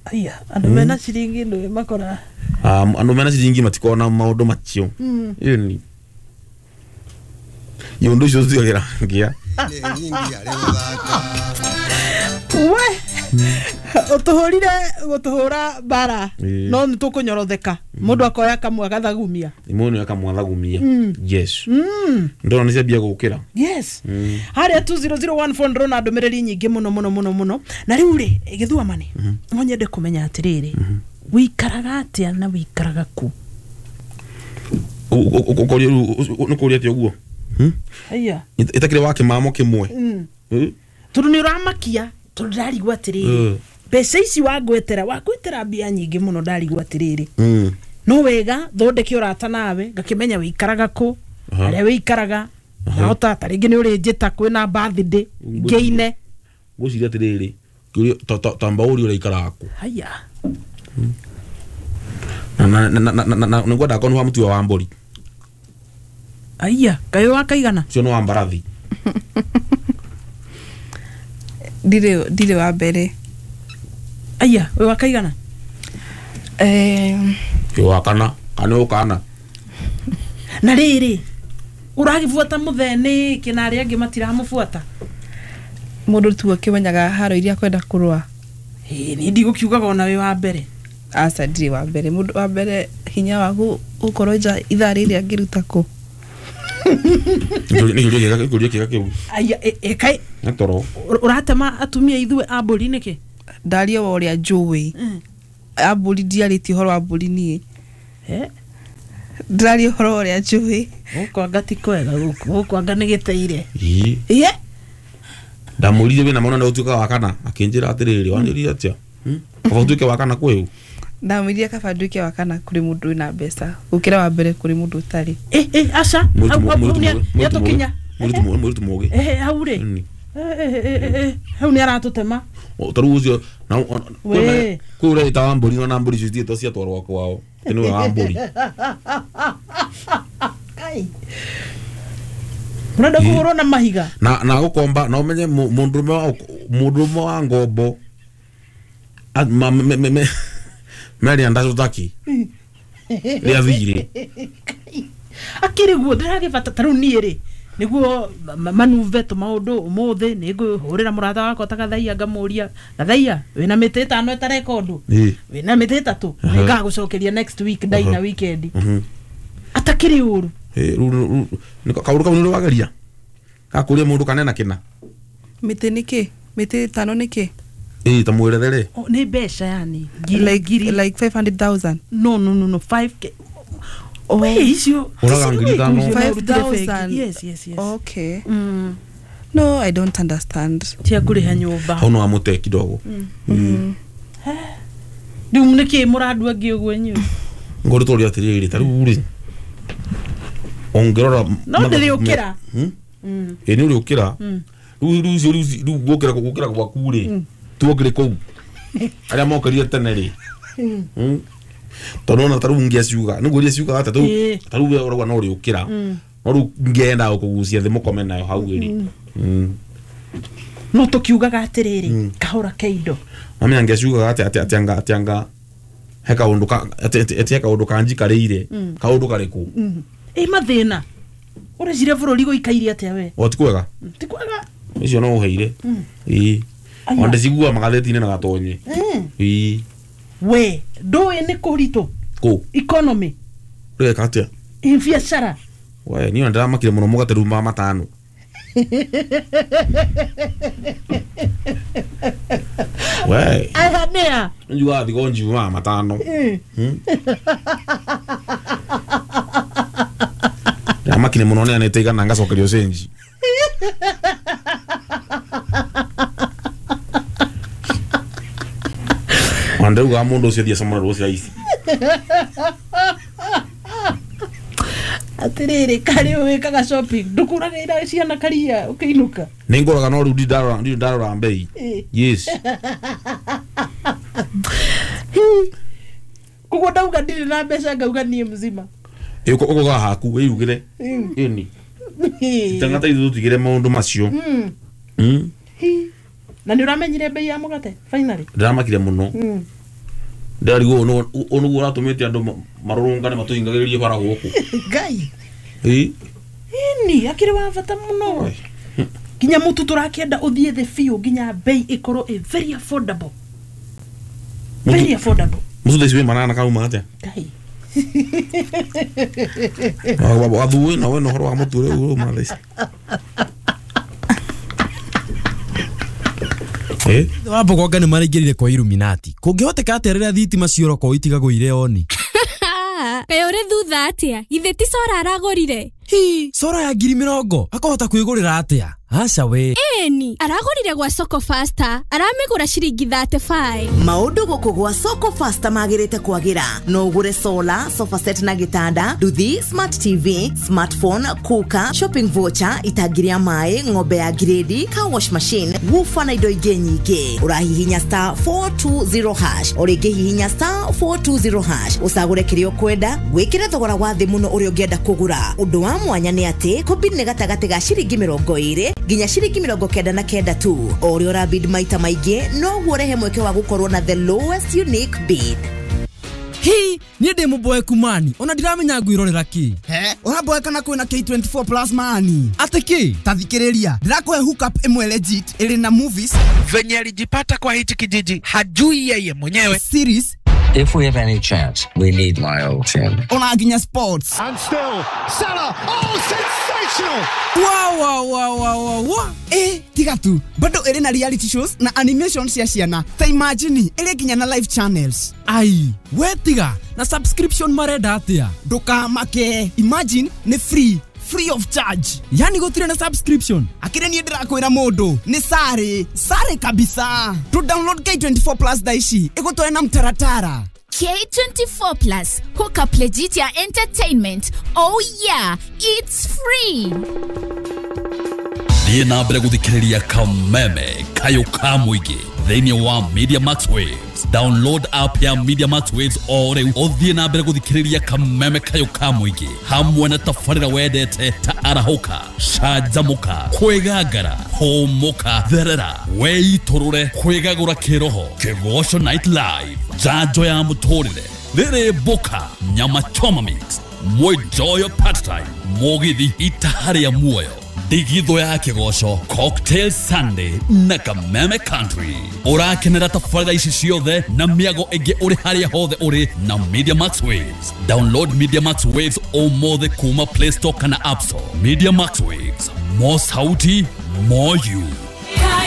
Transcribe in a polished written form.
Aya, andũ mena ciringi ndũĩ makora. Ah, andũ mena ciringi matikona maũndũ macio. Ĩni iũndũ icio tũtigagĩra ngia. Nyingi arĩ gũthaka. We ũtũhũrire gũtũhũra mbara. Ĩĩ. No nĩ tũkũnyorotheka mũndũ akoya kamwe agathagumia. Imwe akamwathagumia, yes. Ndona nĩ ciambia gũkĩra. Yes, harĩa 20014 ndĩrona ndũmĩrĩri nyingĩ mũno mũno mũno mũno. Na rĩu rĩ, gĩthuamani, no nyende kũmenya atĩrĩrĩ, wĩikaraga atĩa na wĩikaraga kũ? Ũkoria nĩ kũria atĩa ũguo? Aya. Ĩtakĩrĩ wa kĩmamo kĩmwe. Tondũ nĩ ũramakia, tondũ ndarigwo atĩrĩrĩ, mbeca ici wangwetera, wangwetera mbia nyingĩ mũno, ndarigwo atĩrĩrĩ, no wega thondeke ũrata nawe ngakĩmenya wĩikaraga kũ, harĩa wĩikaraga, nahota ta rĩngĩ nĩ ũrĩnjĩta kwĩna birthday ngĩine. Ngwĩciria atĩrĩrĩ, kĩũria tamba ũrie ũraikaraga kũ. Haya. Na nĩngwenda akorwo nĩ wa mũtiwa wa mbũri. Aya, kaĩ wakaigana? Ũcio nĩ wa mbarathi. Ndirĩ wa mbere. Aya, wĩ wakaigana? Eh, Ĩ wa kana kana ũkana. Na rĩrĩ, ũragĩbuata mũthee nĩkĩ na arĩa angĩ matiramũbuata? Mũndũ tu akĩmenyaga haro iria akwenda kũrũa. Ĩ, niĩ ndigũkiugaga ona wĩ wa mbere. Aca, ndirĩ wa mbere. Mũndũ wa mbere hinya waku gũkorwo nja ithaa rĩrĩ angĩruta kũ? Nĩ kĩũria kĩega, kĩũria kĩega kĩu. Aya, ĩ kaĩ Nĩ toro. Ũratema atumia ithuĩ a mbũri nĩkĩ? Ndaria wa ũrĩa njũĩ. A mbũri ndiarĩtie ũhoro wa mbũri niĩ. Eh, ndĩraria ũhoro wa ũrĩa njũĩ. Gũkũ anga ti kwega, gũkũ gũkũ anga nĩ gĩteire. Ĩ. Iye. Ndamũririe wĩna mwana ũtuĩkaga wa kana, akĩnjĩra atĩrĩrĩ, wanjĩrire atĩa? Kaba ũtuĩke wa kana kwĩũ. Ndamwĩrire kaba nduĩke wa kana kũrĩ mũndũ wĩna mbeca gũkĩra wa mbere kũrĩ mũndũ ũtarĩ. Ĩ ĩ, aca, hau hau hau nĩatũkinya. Mũirĩtu mũgĩ. Ĩ, hau rĩ. Ĩni. Ĩ, ĩ, ĩ, ĩ, ĩ, hau nĩ aratũtema. Ta rĩu ũcio Wee. kwĩ ũreĩta wa mbũri, na mbũri icio citiĩtwo ciatwarwo kwao, atĩ nĩwe wa mbũri. Kai. Mũrenda kũhũrwo na mahiga. Na gũkomba na ũmenye mũndũrũme wa ngombo meria ndacũtaki rĩa thirĩ. Akĩrĩ guo ndĩragĩbata ta rĩu niĩ rĩ, nĩguo manuve tũmaũndũ ũmũthĩ nĩ ngũhũrĩra mũrata wakwa ta Gathaia, ngamũria, "Gathaia, wĩna mĩtĩ 5 ĩtareka ũndũ?" "Wĩna mĩtĩ 3, nĩngagũcokeria next week, ndaina weekend." Atakĩrĩ ũru. Ĩ, rĩu kaũndũ kau nĩ wageria gakũria mũndũ kanena kĩna. Mĩtĩ nĩkĩ? Mĩtĩ 5 nĩkĩ? Ĩ, ta mwĩrethere. O, nĩ mbeca yani ngiri Like, ngiri. like 500,000? No, no, no, no, 5K. Oh. We, icio Ũraga 5,000. 5,000. Yes. Okay. No, I don't understand. Cia kũrĩha nyũmba. Hau no amũte kidogo. Rĩu nĩkĩ mũrandua angĩ ũguo inyuĩ? Ngũrĩ tũria atĩrĩrĩ, ta rĩu rĩ, ũngĩrora No ndĩrĩũkĩra. Ĩ, nĩ ũrĩũkĩra rĩu rĩu icio rĩu rĩu gũkĩra gwaku rĩ, tuokĩrĩ kũu arĩa mokĩrire tene rĩ. Tondũ ona ta rĩu ngĩaciuga nĩguo iria ciugaga atĩ ta rĩu we ũrauga no ũrĩũkĩra, no rĩu ngĩenda gũkũgucia thĩ mũkome nayo hau rĩ. No tũkiugaga atĩrĩrĩ, kahũra ke indo. Mamenya ngĩaciugaga atĩ atĩ anga he kaũndũ ka atĩ he kaũndũ kanjikarĩire, kaũndũ karĩkũ? Ĩ, mathĩna, ũreciria bũrũri gũikaire atĩa we? O ti kwega. Ti kwega. Ũcio no ũheire, ĩĩ. Aya. Ona ndĩciguaga magathĩti-inĩ na gatonye, ĩĩ. We ndũĩ nĩ kũritũ. Kũ? Economy. Ũreka atĩa? Ĩ, biacara. We, niĩ ona ndĩramakire mũno mũgate rĩu ma 5. We. Aya nĩa? Njugaga thigo njiumaga 5. Ndĩramakire mũno neanĩte 100 ngacokerio cenji. Ona ndĩraugaga mũndũ ũcio athiĩ acamũre rũcio ici. Atĩrĩrĩ, karĩ wĩkaga shopping, ndũkũragĩra ciana karia ũkĩinũka? Nĩ ngũraga, no rĩu ndirĩ ndarora mbei. Yes. Koguo ndauga ndirĩ na mbeca, ngauga niĩ mzima. Ũkũgaga haku wĩrugĩre, ĩni tangata ithuĩ tũtigĩre maũndũ macio. Na nĩ ũramenyire mbei ya mũgate finally? Ndĩramakire mũno. Ndarigwo no onuguo ũratũmĩte andũ marũrũngane matũhingagĩrĩrie bara gũkũ. Ngai. Ĩĩ. Ĩni akĩrĩ wa bata mũno. Nginya mũtu tũrakĩenda ũthiĩ thĩ biũ nginya bei ĩkorwo ĩ very affordable. Very affordable. Mũtu thaa ici wĩ manana kauma atĩa? Ngai. Wathuĩ na wena ũhoro wa mũtu rĩu uma thaa ici. Wa Mbogonga nĩ maraingĩrire kwa Illuminati. Kũngĩhoteka atĩa rĩrĩa thitima ciorokwo itigagwo irĩ oni? Kaĩ ũrĩ thutha atĩa? Githĩ ti cora aragũrire? Hi, cora ya 20,000 akahota kwĩgũrĩra atĩa? Aca we. Ĩni, aragũrire gwa Soko Faster, aramĩgũra ciringi 35. Maũndũ gũkũ gwa Soko Faster magĩrĩte kwagĩra. No ũgũre solar, sofa set na gĩtanda, nduthi, smart TV, smartphone, cooker, shopping voucher, itangi rĩa maĩ, ng'ombe ya grade, car wash machine, woofer na indo ingĩ nyingĩ. Ũrahihinya star 420 hash, o rĩngĩ hihinya star 420 hash, ũcagũre kĩrĩa ũkwenda, wĩkĩre thogora wa thĩ mũno ũrĩa ũngĩenda kũgũra. Ũndũ wa mwanya nĩ atĩ kũbid nĩ gatagatĩ ga ciringi 20 nginya ciringi 99 tu. O ũrĩa ũrabid maita maingĩ noguo ũrehe mweke wa gũkorwo na the lowest unique bid. Hi, niĩ ndĩ mũboeku mani, ona ndiramenya ngwĩrorera kĩ. He, ũraboeka na kwĩna K24 plus mani. Atĩ kĩ? Ta thikĩrĩria, ndĩrakũhe hookup ĩmwe legit ĩrĩ na movies. Venye alijipata kwa hichi kijiji hajui yeye mwenyewe. Series. If we have any chance, we need my old team. Ona nginya sports. And still, Salah, oh, sensational! Wow, wow, wow, wow, wow. Tiga tu, bado ĩrĩ na reality shows na animation cia ciana. Ta imagine, ĩrĩ nginya na live channels. Ai, we tiga, na subscription marenda atĩa? Ndũkamake, imagine nĩ free. Free of charge. Yani gũtirĩ na subscription. Akĩrĩ niĩ ndĩrakwĩra mũndũ nĩ sare, sare kabisa. To download K24 plus thaa ici ĩgũtware na mtaratara. K24 plus, hook up legit ya entertainment. Oh yeah, it's free. Thiĩ na mbere gũthikĩrĩria Kameme Kayũ ka mũingĩ thĩinĩ wa Media Max Waves. Download app ya Media Max Waves o rĩu ũthiĩ na mbere gũthikĩrĩria Kameme Kayũ ka mũingĩ hamwe na tabarĩra wendete ta arahũka, canjamũka, kwĩgangara, hũmũka, therera, weitũrũre, kwĩgagũra kĩroho, Kĩgoco Night Live, njanjo ya mũtũrĩre, rĩrĩ mboka, nyama choma mix, mwenjoyo part time, mũgithi itaha rĩa muoyo, ndigithũ ya kĩgoco, Cocktail Sunday na Kameme Country. Ũrakenera tabarĩra ici ciothe na mĩago ĩngĩ ũrĩ harĩa hothe ũrĩ na Media Max Waves. Download Media Max Waves ũmũthĩ kuma Play Store kana App Store. Media Max Waves, more sauti, more you.